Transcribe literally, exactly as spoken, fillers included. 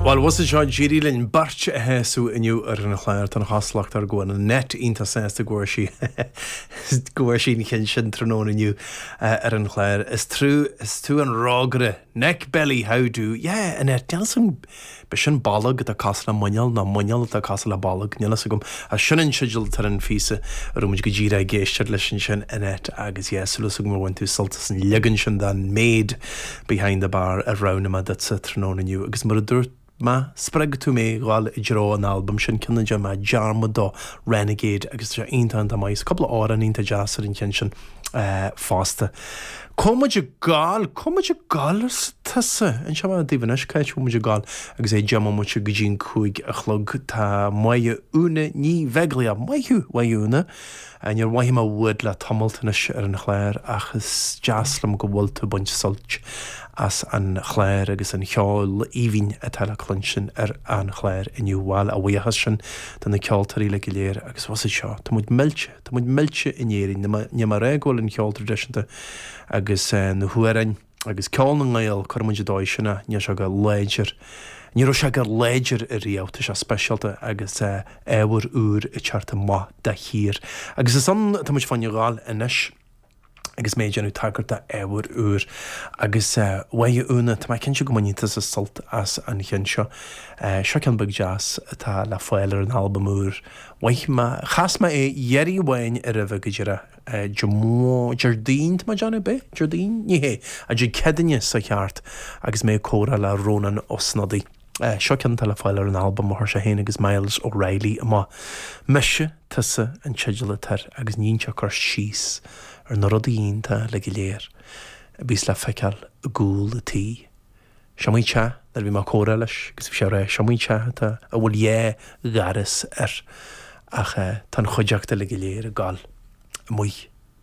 Bhuel, bhus seo d'éirigh linn beirt a shásamh inniu ar an chlár. Tá an chosúlacht air go bhfuil Annette iontach sásta go bhfuair sí go bhfuair sí an ceann sin tráthnóna inniu ar an chlár. Is trú is tú an rógaire Neck Belly how do yeah Annette níl san be sin bolg atá cosúil le muineál nó muineál atá cosúil le bolg níl fhios agam a sin an teideal atá ar an phíosa a raibh muid go díreach ag éisteacht leis ansin Annette agus yeah súil agam gur bhain tú sult as an leagan sin den Maid Behind the Bar a roghnaigh mé duitse tráthnóna inniu agus mar a dúirt mé spreag tú mé dhul i dtreo an albam sin ceann de mé dearmad dó Renegade agus tá sé iontach iontach maith cúpla amhrán iontach deas ar an cheann sin uh, fosta. Cá muid ag gabháil cá muid ag gabháil tusa an seo daoibh anois cá muid ag gabháil agus é deich mbomaite go dtí an cúig a chlog tá Máire Úna Ní Bheaglaoich maith thú Máire Úna. Níor mhothaigh mé uait le tamall anois ar an chlár ach is deas liom go bhfuil tú baint sult as an chlár agus an cheol aoibhinn atá le cluinstin ar an chlár inniu bhuel a bhuíochas sin do na ceoltóirí le go léir agus was seo Tá muid millte Tá muid millte in Éirinn ní mar é go bhfuil an cheol traidisiúnta agus uh, na hamhráin agus ceol na nGael chuir muid dóigh sinna níl sé go láidir. Ní raibh sé go láidir ariamh tá sé speisialta agus uh, ábhar úr i teart maith de shíor. Agus is an tá muid fána ghabháil anois agus mé déanamh tagairt d'ábhar úr agus uh, Mháire Úna tá mé cinnte go mbainfidh tusa sult as an cheann seo. Uh, seo ceann beag deas atá le fáil ar an albam úr. Mhaith mé chas mé é iarraidh amháin ar a bheith go deireadh Déardaoin má déanamh be Déardaoin ní hé a Dé Céadaoine sa cheart agus mé comhrá le Rónán Ó Snodaigh. Uh, seo ceann le fáil ar an albam mar sé féin agus Myles O'Reilly amach. Mise tusa an teideal atá air agus níonn cur síos ar na rudaí iontacha le go léir, a bhíos le feiceáil i gcúl a tí. Seo í te nuair bhí mé comhrá leis agus bhí sé rá seo í te atá a bhfuil dhá dhoras air ach uh, tá an chuideachta le go léir ag gabháil amuigh